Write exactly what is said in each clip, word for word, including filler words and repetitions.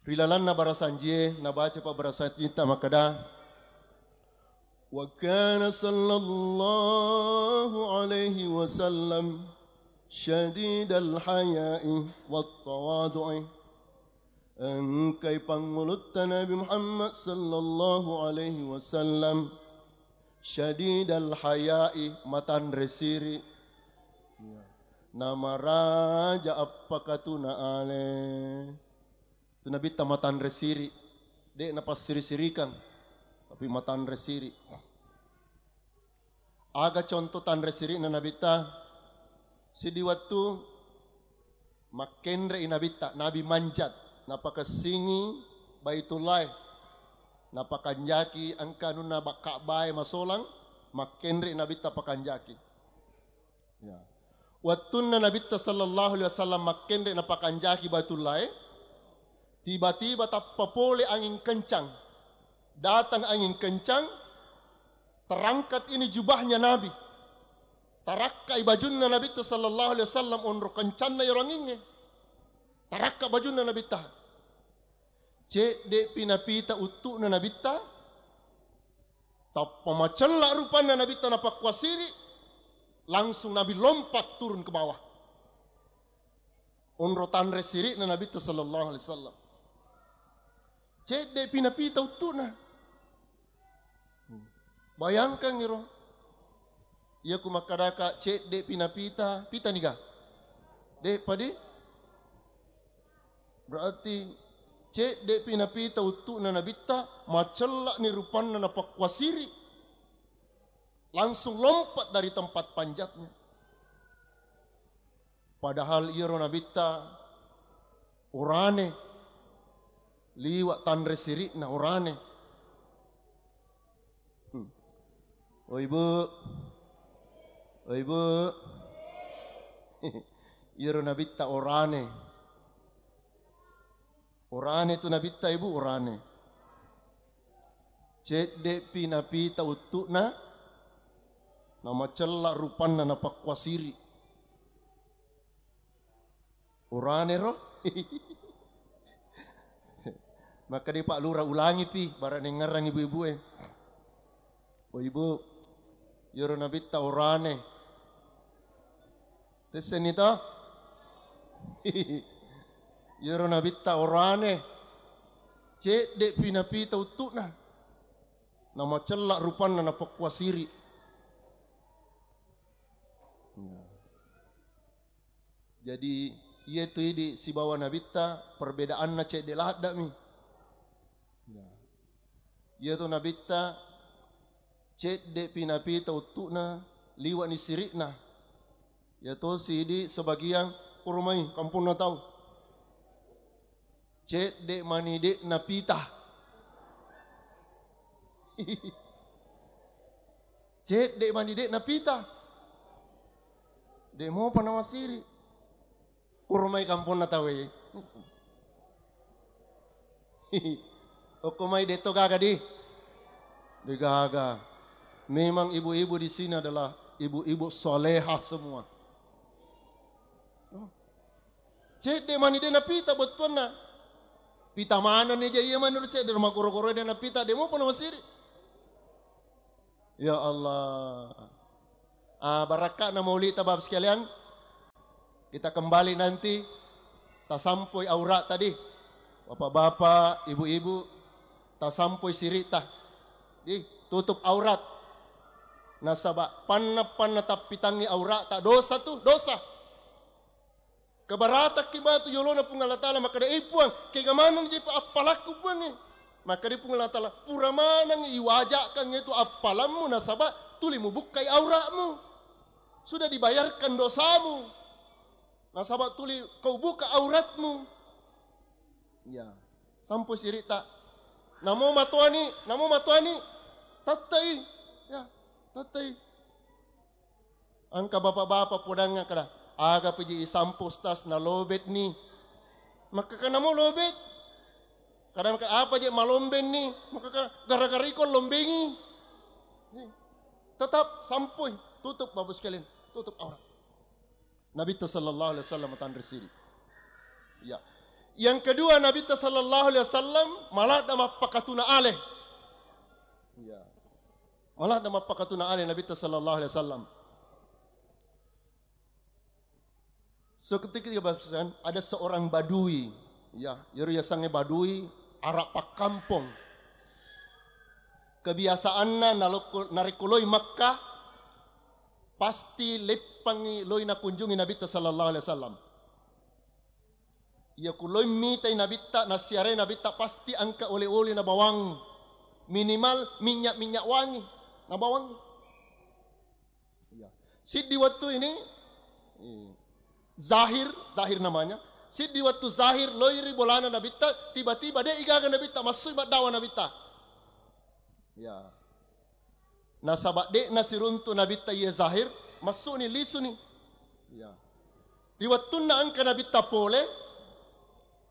Ri lalanna barasanjie, nabaca pa barasanjitta makkeda, "Wa kana sallallahu alaihi wasallam syadidal haya'i wat tawadu'i." Engkai pangulutta Nabi Muhammad sallallahu alaihi wasallam syadidal haya'i, matanre siri. Namaraja appakatuna ale. Tu Nabitta matanre siri, de' napassiri-sirikang, tapi matanre siri. Aga contoh tanre siri'na Nabitta? Siddi wettu makkenre'i Nabitta, Nabi manjat, napakessingi Baitullah, napakanjaki engka anunna ba-, Ka'bae masolang, makkenre'i Nabitta pakanjaki. Ya. Wettunna Nabitta sallallahu alaihi wasallam makkenre napakanjaki Baitullahe, tiba-tiba tappa pole angin kencang. Datang angin kencang, terangkat ini jubahnya Nabi. Tarakkai bajunna Nabitta sallallahu alaihi wasallam, onro kencanna iyaro angingnge. Tarakka bajunna Nabitta. Cedde'pi napita uttu'na Nabitta, tappa macella rupanna Nabitta napakkua siri, langsung Nabi lompat turun ke bawah. Onro tanre siri'na Nabitta sallallahu alaihi wasallam. Cedde'pi napita uttu'na. Bayangkan iro. Iya ku makkadaka cedde'pi napita, pita niga? De' padi? Berarti cedde'pi napita uttu'na Nabitta, macella'ni rupanna napakkua siri. Langsung lompat dari tempat panjatnya. Padahal iyaro Nabitta orane, liwa' tanre siri'na orane. Hmm. Oi, Bu. Oi, Bu. Iyaro Nabitta orane. Orane tu Nabitta, Ibu, orane. Cedde'pi napita uttu'na, namacella rupanna napakkua siri. Orane ro. Maka di Pak Lurah ulangipi, barang nengngerang ibu-ibu e. Oh, Ibu, iyaro Nabitta orane. Tessenni to? Iyaro Nabitta orane. Cedde'pi napita uttu'na. Namacella rupanna napakkua siri. Ya. Jadi, iya tu idi sibawa Nabitta, perbedaanna cedde laddami. Ya. Iya tu Nabitta, cedde'pi napita uttu'na, liwa'ni siri'na. Iya tosi idi sebagian kurmai kamponna tau. Cedde' mani de' napita. Cedde' mani de' napita. De' mopa namasiri. Kurmai kamponna tauwe. Okko mai de' to gaga di. De' gaga. Memang ibu-ibu di sini adalah ibu-ibu soleha semua. Oh. Cedde' mani de' napita bettuanna. Pita manenni ja iya maneng cedde' makoro-koro de' napita, de' mopa namasiri. Ya Allah. Ah, barakka'na maulidta, Bapak sekalian. Kita kembali nanti, tasampoi aurat tadi. Bapak-bapak, ibu-ibu, tasampoi siri'ta. Di, tutup aurat. Nasaba' panna-panna tappitangngi auratta dosa tu, dosa. Kebaratakki matu yolona Puang Allah Ta'ala, makkeda, "Eh, Puang, kega maneng je appalakku, Puang, eh?" Makkeda Puang Allah Ta'ala, "Pura maneng iwaja'kan itu appalammu, nasaba' tuli mubukkai auratmu. Sudah dibayarkan dosamu. Nasaba' tuli kau buka auratmu." Ya. Sampo siri'ta. Namo matoani, namo matoani. Tattai. Ya, tattai. Engka bapak-bapak podang kada, "Aga peji isampo, Ustaz, nalobet ni." Makkeda, "Namo lobet?" Kada makkeda, "Apa je malomben ni?" Makkeda, "Gara-gara iko lombengi." Tetap sampoi, tutup, Bapak sekalian, tutup aurat. Nabitta sallallahu alaihi wasallam tanre siri. Ya. Yang kedua, Nabitta sallallahu alaihi wasallam maladda mappakatuna ale. Ya. Maladda mappakatuna ale Nabitta sallallahu alaihi wasallam. Seketika, ada seorang badui, ya, iyaro yasengnge badui, araq pakkampong. Kebiasaanna nalokko-, narekko loi Makkah, pasti leppangngi loi nakunjungi Nabitta sallallahu alaihi wasallam. Iya ku loi mitai Nabitta, nassiarai Nabitta, pasti engka oleh-oleh nabawang. Minimal minyak-minyak wangi nabawang. Iya. Siddi wettu ini, iya. Zahir, Zahir namanya. Siddi wettu Zahir loi ri bolana Nabitta, tiba-tiba de' igaga Nabitta, massui maddawa Nabitta. Ya. Nasaba de'na siruntu Nabitta iye Zahir, massuni, lisuni. Ya. Ri wettunna engka Nabitta pole,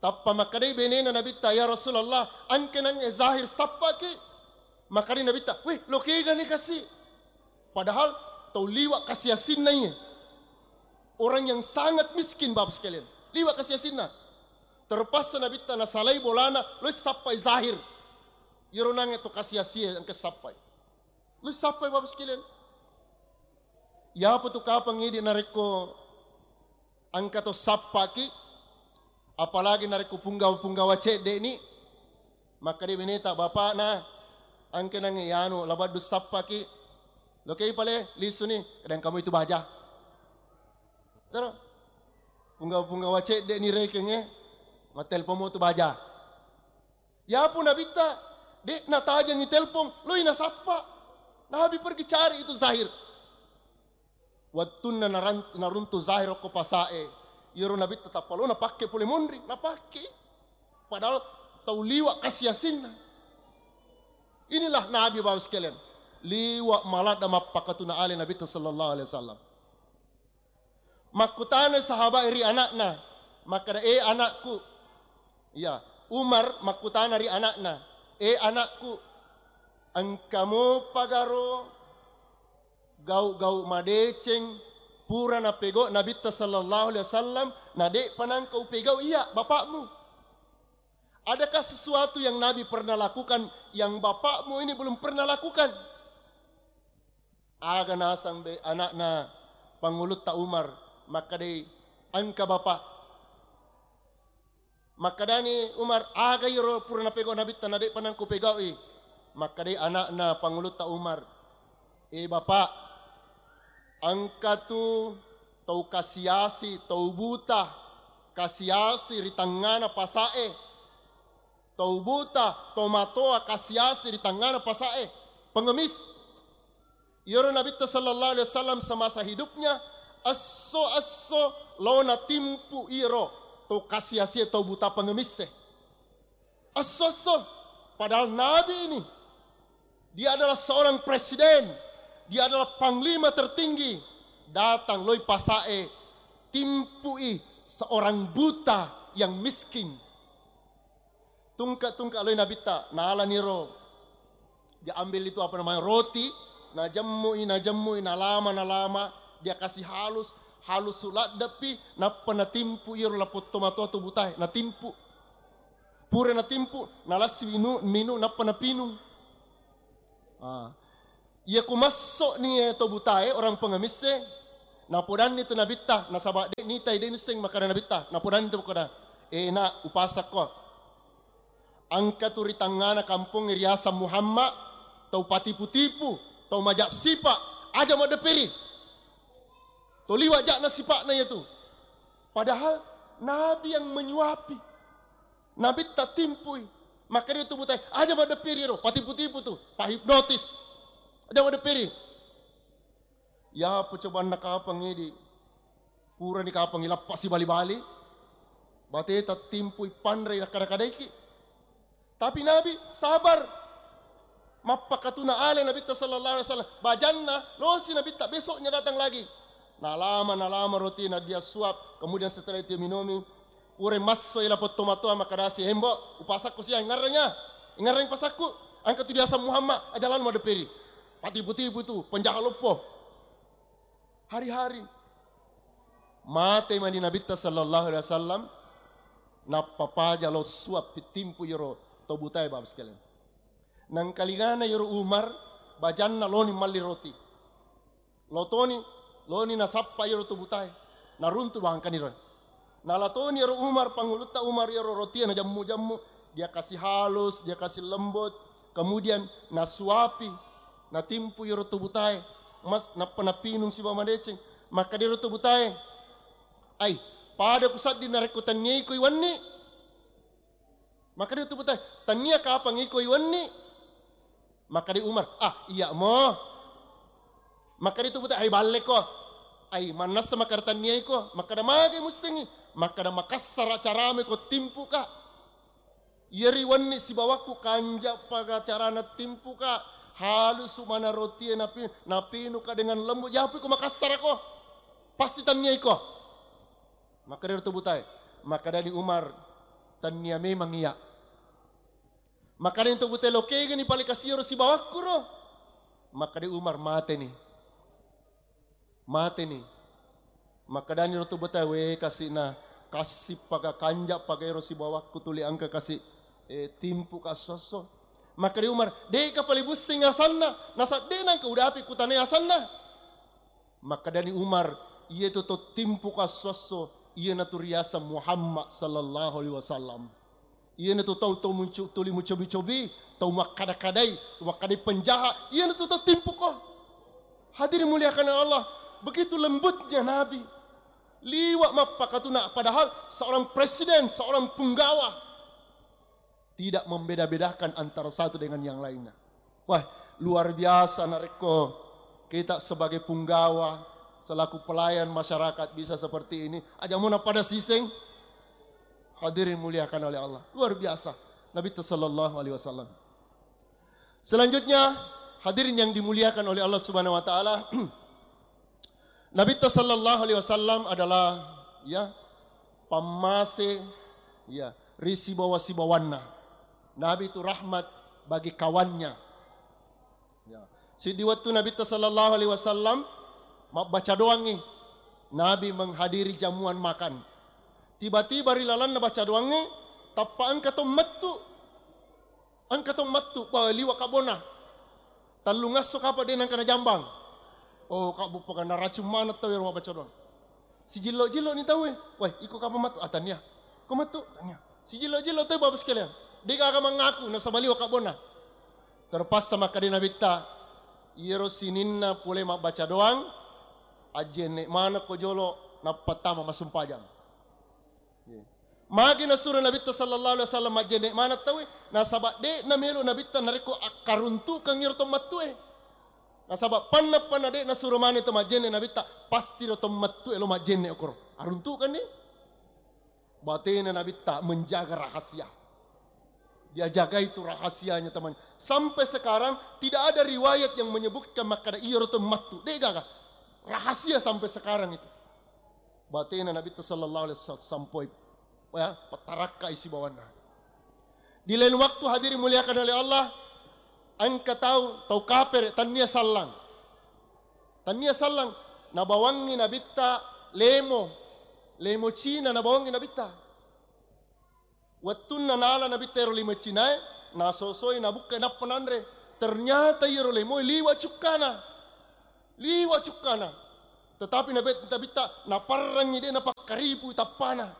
tappa makkedai benena Nabitta, "Ya Rasulullah, engka nangnge Zahir sappaki." Makkedai Nabitta, "Wih, lo kegani kasi?" Padahal tau liwa kasi-asinna iye. Orang yang sangat miskin, Bapak sekalian. Liwa kasi-asinna. Terpaksa Nabitta nasalai bolana, lo sappai Zahir. Iyaro nangnge to kasi-asie engka sappai. Lo sappai, Bapak sekalian. Iyapa tu kapang idi narekko engka to sappaki, apalagi narekko punggawa-punggawa cedde'ni, makkeda beneta, "Bapakna, engka nangnge anu, labaddu sappaki." Lokei pale, lisuni, kadang kamu itu baja. Tero. Punggawa-punggawa cedde'ni rekengnge, mattelpon mo tu baja. Yapu Nabitta, de' natajengi telpon, loi nasappa. Nabi pergi cari itu Zahir. Wettunna naran-, naruntu Zahir okko pasae, iyaro Nabitta tappa lo napakke pole monri, napakke. Padahal tau liwa kasi-asinna. Inilah Nabi, Bapak sekalian. Liwa maladda mappakatuna ale Nabitta sallallahu alaihi wasallam. Makkutana sahabat ri anakna, makkeda, "Eh, anakku." Iya, Umar makkutana ri anakna, "Eh, anakku, engka mopa garo gau-gau madeceng pura napegau Nabitta sallallahu alaihi wasallam, na de'pa nangka upegau iya bapakmu? Adakah sesuatu yang Nabi pernah lakukan yang bapakmu ini belum pernah lakukan?" Aga nasang be anakna Pangulutta Umar, makkedai, "Engka, Bapak." Makkedani Umar, "Aga iyaro pura napegau Nabitta na de'pa nangka upegaui?" Makkedai anakna Pangulutta Umar, "Eh, Bapak, engka tu tau kasiasi, tau buta, kasiasi ri tengngana pasae. Tau buta, tau matoa kasiasi ri tengngana pasae, pengemis." Iyaro Nabitta sallallahu alaihi wasallam semasa hidupnya, esso-esso lo natimpu iyaro to kasiasie, to buta pengemisse. Esso-esso, padahal Nabi ini, dia adalah seorang presiden, dia adalah panglima tertinggi, datang loi pasae, timpui seorang buta yang miskin. Tungke-tungke loi Nabitta, nalani ro. Dia ambil itu, apa namanya, roti, najemmui, najemmui, nalama, nalama, dia kasih halus, halus suladdepi, nappa natimpu iyaro lapong tomatoa tu butae, natimpu. Pura natimpu, nalassi minu, minu, nappa napinung. Ah. Iya ku masso'ni e to butae, orang pengemisse, napodanni tu Nabitta, nasaba de' nitai, de' nusseng makkeda Nabitta, napodanni tu makkeda, "Eh, nak, upasakko. Engka tu ri tangngana kampongnge riaseng Muhammad, tau patipu-tipu, tau maja' sipa, aja maddepperi. To liwa ja'na sipa'na iyatu." Padahal Nabi yang menyuapi. Nabitta timpui. Makkeda tu butae, "Aja maddepperi ro, patipu-tipu tu, pahipnotis. Aja maddepperi." Yapo cobanna kapang idi, purani kapang ilappa sibali-bali, bateta timpui panrei nakkada-kadaiki. Tapi Nabi sabar. Mappakatuna ale Nabitta sallallahu alaihi wasallam. Bajanna, losi Nabitta, besoknya datang lagi. Nalama, nalama rotina dia suap, kemudian setelah itu minumi, pura massoi lapong tomatoa makkadasi, "Hembo, upasakku sia, ingarreng ya. Ingarreng pasakku. Engka tu diaseng Muhammad, aja lalo maddepperi. Patipu-tipu tu, penjahat loppo." Hari-hari. Mate mani Nabitta sallallahu alaihi wasallam. Nappa paja lo suap pittimpu iyaro to butae, Bapak sekalian. Nangkalingana iyaro Umar, bajanna loni malli roti. Lotoni, loni nasappa iyaro to butae. Naruntu bangkani ro. Nalatoni iyaro Umar, pangulutta Umar, iyaro rotie najammu-jammu, dia kasih halus, dia kasih lembut, kemudian nasuapi, natimpu iyaro to butae, mas, nappa napinung sibawa madeceng. Makkeda iyaro to butae, "Ai, pada kusaddi narekko tanniai ko iwenni." Makkeda tu butae, "Tannia kapang iko iwenni." Makkeda Umar, "Ah, iya mo." Makkeda tu butae, "Ai, balleko. Ai, mannassa makkeda tannia iko." Makkeda, "Magai mussengi?" Makkeda, "Makassara caramu ko timpuka. Iyeri wenni sibawakku kanja paga carana timpuka, halusu mana rotie napi-, napinuka dengan lembut, japu iko makassara ko. Pasti tannia iko." Makkeda tu butae, makkedani Umar, "Tannia memang iya." Makkedani tu butae, "Lo kegani pale kasiro sibawakku ro?" Makkeda Umar, "Mateni. Mateni." Makkedani ro tu butae, "We, kasina, kassi paga kanja paga ero sibawakku tuli engka kasi, eh, timpuka esso-esso." Makkeda Umar, "De'ka pale busseng asanna, nasa de nangka udapi kutanai asanna." Makkedani Umar, "Iyetu to timpuka esso-esso, iyanatu riaseng Muhammad sallallahu alaihi wasallam. Iyanatu tau, tau muncu-, tuli mucobi-cobi, tau makkada-kadai, tau makkadai penjahat, iyanatu to timpuko." Hadirin muliakan Allah, begitu lembutnya Nabi. Liwa mappakatuna, padahal seorang presiden, seorang punggawa. Tidak membeda-bedakan antara satu dengan yang lainnya. Wah, luar biasa narekko kita sebagai punggawa, selaku pelayan masyarakat bisa seperti ini. Aja muna pada siseng. Hadirin muliakan oleh Allah. Luar biasa. Nabi sallallahu alaihi wasallam. Selanjutnya, hadirin yang dimuliakan oleh Allah Subhanahu wa taala, Nabitta sallallahu alaihi wasallam adalah, ya, pammase, ya, ri sibawa-sibawanna. Nabi itu rahmat bagi kawannya. Ya. Siddi wettu Nabitta sallallahu alaihi wasallam mabbaca doangngi. Nabi menghadiri jamuan makan. Tiba-tiba ri lalanna baca doangngi, tappa engka to mettu. Engka to mettu, ba, liwa kabbona. Tellungesso kapang de nengka najambang. Oh, kabbu paganna racung maneng tau ero mabbaca doang. Sijillo-jillo ni tau e. Woi, iko kapang mettu? Ah, tania. Ko mettu? Tania. Sijillo-jillo tau, Bapak sekalian. De gaga mangaku nasaba liwa kabbona. Terpaksa makkeda Nabitta, iyero sininna pole mabbaca doang, ajjenne maneng ko jolo nappa tama masumpajang. Magi nasuro Nabitta sallallahu alaihi wasallam majjenne maneng tauwe, nasaba de namelo Nabitta narekko akkaruntukeng iro to mattue. Nasaba panna-panna de nasuro maneng to majjenne Nabitta, pasti ro to mattue lo majjenne okoro. Aruntukenni. Batena Nabitta menjaga rahasia. Dia jaga itu rahasianya, teman. Sampai sekarang tidak ada riwayat yang menyebutkan makkada iyaro to mattu. De gaga. Rahasia sampai sekarang itu. Batena Nabitta sallallahu alaihi wasallam sampoi, ya, patarakkai sibawanna. Di lain waktu, hadirin muliakan oleh Allah, engka tau, tau kapere, tania sallang. Tania sallang, nabawangngi Nabitta lemo, lemo Cina nabawangngi Nabitta. Wettunna nala Nabitta ero lemo Cinae, nasosoi, nabukkai, nappa nanre. Ternyata iyaro lemoe liwa cukkana. Liwa cukkana. Tetapi Nabi-, Nabitta naparrengngi, de napakkaripui tappana.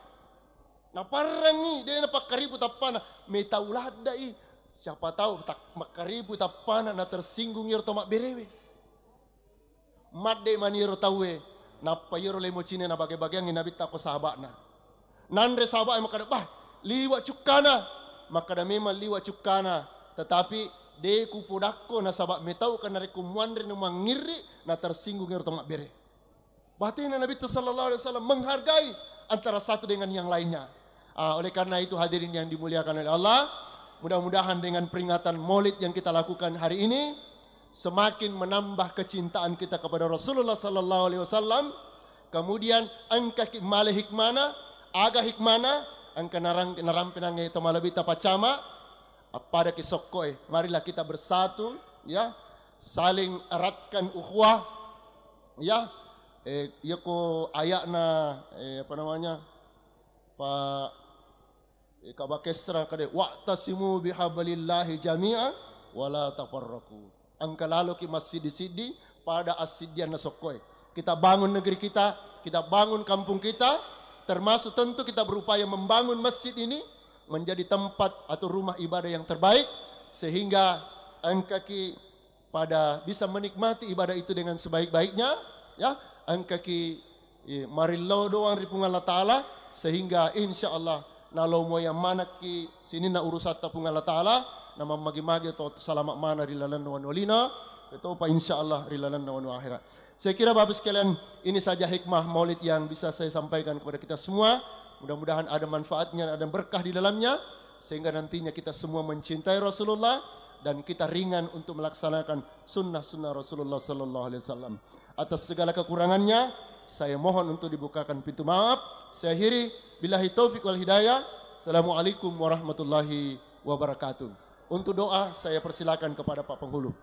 Naparrengngi, de napakkaripui tappana. Metau laddai. Siapa tahu tak makkaripui tappana, na tersinggung iyaro to mabberewe. Madde mani ero tauwe, nappa iyaro lemo Cina nabage-bageangngi Nabitta ko sahaba'na. Nanre sahaba'e makkada, "Bah, liwa cukkana." Makkada, "Memang liwa cukkana, tetapi de kupodakko nasaba metauka narekko muanre na mangngirri, na tersinggung ero to mabbere." Batena Nabitta sallallahu alaihi wasallam menghargai antara satu dengan yang lainnya. Ah, oleh karena itu, hadirin yang dimuliakan oleh Allah, mudah-mudahan dengan peringatan Maulid yang kita lakukan hari ini semakin menambah kecintaan kita kepada Rasulullah sallallahu alaihi wasallam. Kemudian engkaki male hikmana, aga hikmana, engka narang-, narampe nangnge to malebbi tapaccama, appadaki sokkoe. Marilah kita bersatu, ya, saling eratkan ukhuwah, ya. Eh, iyako ayakna, eh, apa namanya, Pak Ika bakesra kade, "Wa'tasimu bihablillahi jami'a wa la tafarraqu." Engka laloki massiddi-siddi pada assiddianna sokkoe. Kita bangun negeri kita, kita bangun kampung kita, termasuk tentu kita berupaya membangun masjid ini menjadi tempat atau rumah ibadah yang terbaik, sehingga engkaki pada bisa menikmati ibadah itu dengan sebaik-baiknya, ya, engkaki, eh, marillau doang ri Puang Allah Ta'ala, sehingga insya Allah nalo moyang manakki sininna urusatta Puang Allah Ta'ala, na mammagi-magi to salama mana ri lalenna wanu lino, ketopa insya Allah ri lalenna wanu akhirat. Saya kira Bapak sekalian, ini saja hikmah maulid yang bisa saya sampaikan kepada kita semua. Mudah-mudahan ada manfaatnya, ada berkah di dalamnya, sehingga nantinya kita semua mencintai Rasulullah dan kita ringan untuk melaksanakan sunnah-sunnah Rasulullah sallallahu alaihi wasallam. Atas segala kekurangannya, saya mohon untuk dibukakan pintu maaf. Saya akhiri, billahi taufiq wal hidayah. Assalamualaikum warahmatullahi wabarakatuh. Untuk doa, saya persilakan kepada Pak Penghulu.